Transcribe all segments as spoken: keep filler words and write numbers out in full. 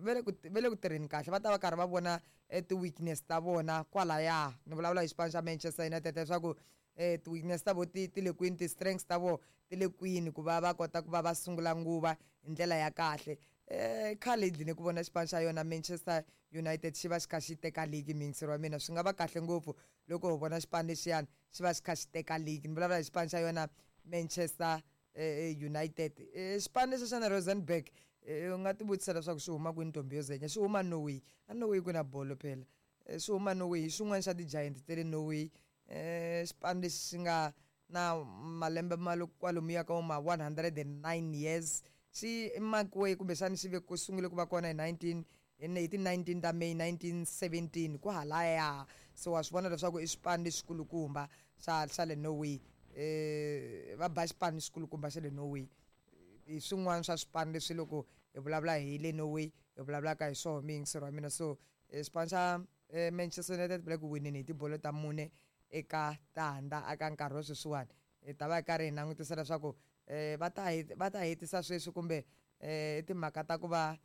va le ku va le ku tirheni kahle va ta va karhi va vona ti-weakness ta vona kwalaya ni vulavula hi xipano xa Manchester United leswaku eh ti-weakness ta vo ti ti le kwini ti-strengths ta vo ti le kwini ku va va kota ku va va sungula nguva hi ndlela ya kahle eh khale hi dlini ku vona xipano xa yona Manchester United xi va xi kha xi teka league miyingiseri wa mina swi nga va kahle ngopfu loko ho vona xipano lexiyani xi va xi kha xi teka league ni vulavula hi xipano xa yona Manchester eh, United eh, xipano lexi xa na Rosenberg u nga ti vutisa leswaku xi huma kwini ntombi yo zenya xi huma Norway a Norway ku na bolo phela xi huma Norway hi xin'wana xa ti-giant ta le Norway eh xipano lexi xi nga na malembe ma lo kwalomuya ka ma one hundred and nine years xi makiwe kumbexani xi ve ku sungule ku va kona hi nineteen hi ti nineteen ta May nineteen seventeen kwahalaya so wa swi vona leswaku i xipano lexikulukumba xa xa le Norway eh va ba xipano xikulukumba xa le Norway hi swin'wana swa swipano leswi loko hi vulavula hi le Norway hi vulavulaka hi swona miyingiseri wa mina so xipano xa Manchester United va le ku wineni hi tibolo ta mune eka tandza aka nkarhi wa sweswiwani hi ta va hi karhi hi langutisa leswaku eh va ta va ta hetisa sweswi kumbe eh timhaka ta ku va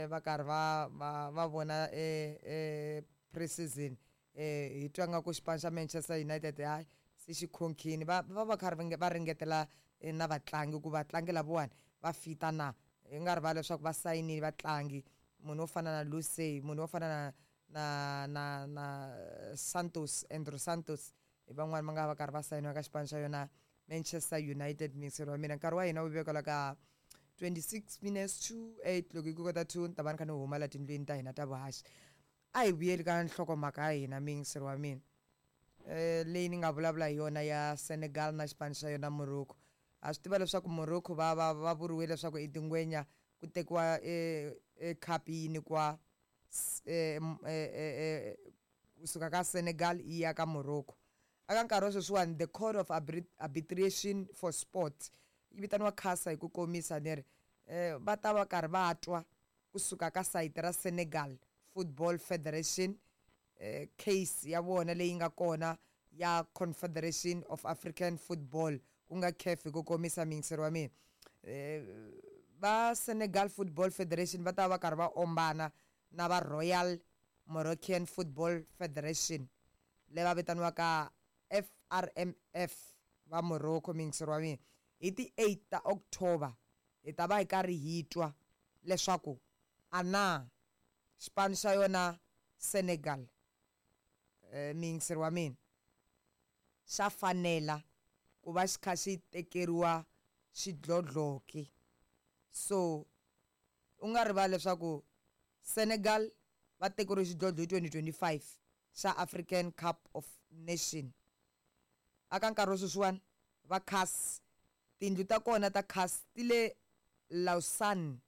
va karhi va va va vona eh pre-season eh hi twa nga ku xipano xa Manchester United hayi se xi khonkhini va va va karhi va ringetela na vatlangi ku vatlangi lavawani va fita na hi nga rivali leswaku va sayinile vatlangi munhu wo fana na Lucey munhu wo fana na na na na Santos Andrew Santos hi van'wani va nga va karhi va sayiniwa ka xipano xa yona Manchester United miyingiseri wa mina nkarhi wa hina wu vekela ka twenty-six minutes to eight loko hi ku kota two ni ta va ni kha ni huma la tindlwini ta hina ta vuhaxi a hi vuyeli ka nhlokomhaka ya hina miyingiseri wa mina eh leyi ni nga vulavula hi yona ya Senegal na xipano xa yona Morocco ha swi tiva leswaku Morocco va va va vuriwe leswaku i tingwenya ku tekiwa e e cup yi nyikiwa eh kusuka ka Senegal yi ya ka Morocco aka nkarhi wa sweswiwani the Court of Arbitration for Sport yi vitaniwa CASA hi ku komisa ni ri eh va ta va karhi va twa kusuka ka sayiti ra Senegal Football Federation eh case ya vona leyi nga kona ya Confederation of African Football ku nga CAF hi ku komisa miyingiseri wa mina eh va Senegal Football Federation va ta va karhi va ombana na va Royal Moroccan Football Federation leyi va vitaniwaka F R M F va Morocco miyingiseri wa mina hi ti eight ta October hi ta va hi karhi hi twa leswaku ana xipano xa yona Senegal eh miyingiseri wa mina xa fanela ku va xi kha xi tekeriwa xidlodlo ke so u nga rivali leswaku Senegal va tekeriwe xidlodlo hi twenty twenty-five xa African Cup of Nation aka nkarhi wa sweswiwani va CAS tindlu ta kona ta CAS ti le Lausanne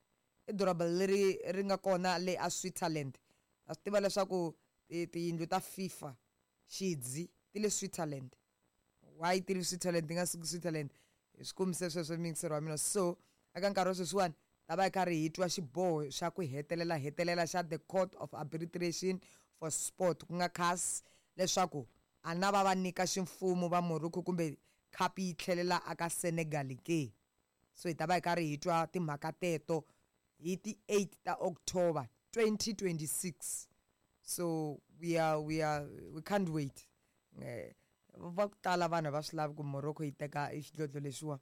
i doroba leri ri nga kona le a Switzerland ha swi tiva leswaku tiyindlu ta FIFA xidzi ti le Switzerland why ti le Switzerland ti nga suki Switzerland hi swi kombise sweswo miyingiseri wa mina so eka nkarhi wa sweswiwani ta va hi karhi hi twa xiboho xa ku hetelela hetelela xa the Court of Arbitration for Sport ku nga CAS leswaku a na va va nyika ximfumo va Morocco kumbe cup yi tlhelela aka Senegal ke so hi ta va hi karhi hi twa timhaka teto hi ti eight ta October twenty twenty-six so we are we are we can't wait eh va ku tala vanhu va swi lavi ku Morocco yi teka xidlodlo lexiwa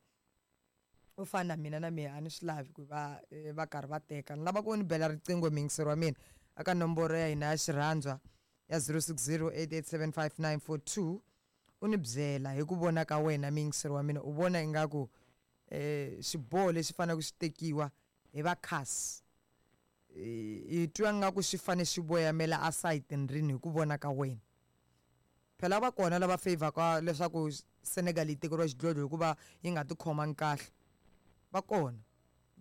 u fana na mina na mina a ni swi lavi ku va va karhi va teka ni lava ku ni bela riqingho miyingiseri wa mina aka nomboro ya hina ya xirhandzwa ya zero six zero eight eight seven five nine four two u ni byela hi ku vona ka wena miyingiseri wa mina u vona ingaku eh xiboho lexi faneleke xi tekiwa hi va CAS hi twa nga ku xi fane xi voyamela asayitini rini hi ku vona ka wena phela va kona lava favor-ka leswaku Senegal yi tekeriwa xidlodlo hikuva yi nga ti khomangi kahle va kona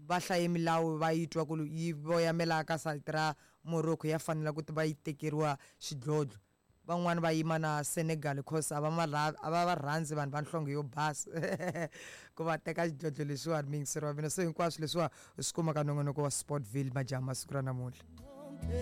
va hlaye milawu va yi twa ku yi voyamela ka sayiti ra Morocco ya fanela ku va yi tekeriwa xidlodlo van'wani va yima na Senegal because a va ma a va va rhandzi vanhu va nhlonge yo basa ku va teka xidlodlo lexiwani miyingiseri wa mina so hinkwaswo leswiwa u swi kuma ka nongonoko wa Sportville majaha masiku ra namuntlha.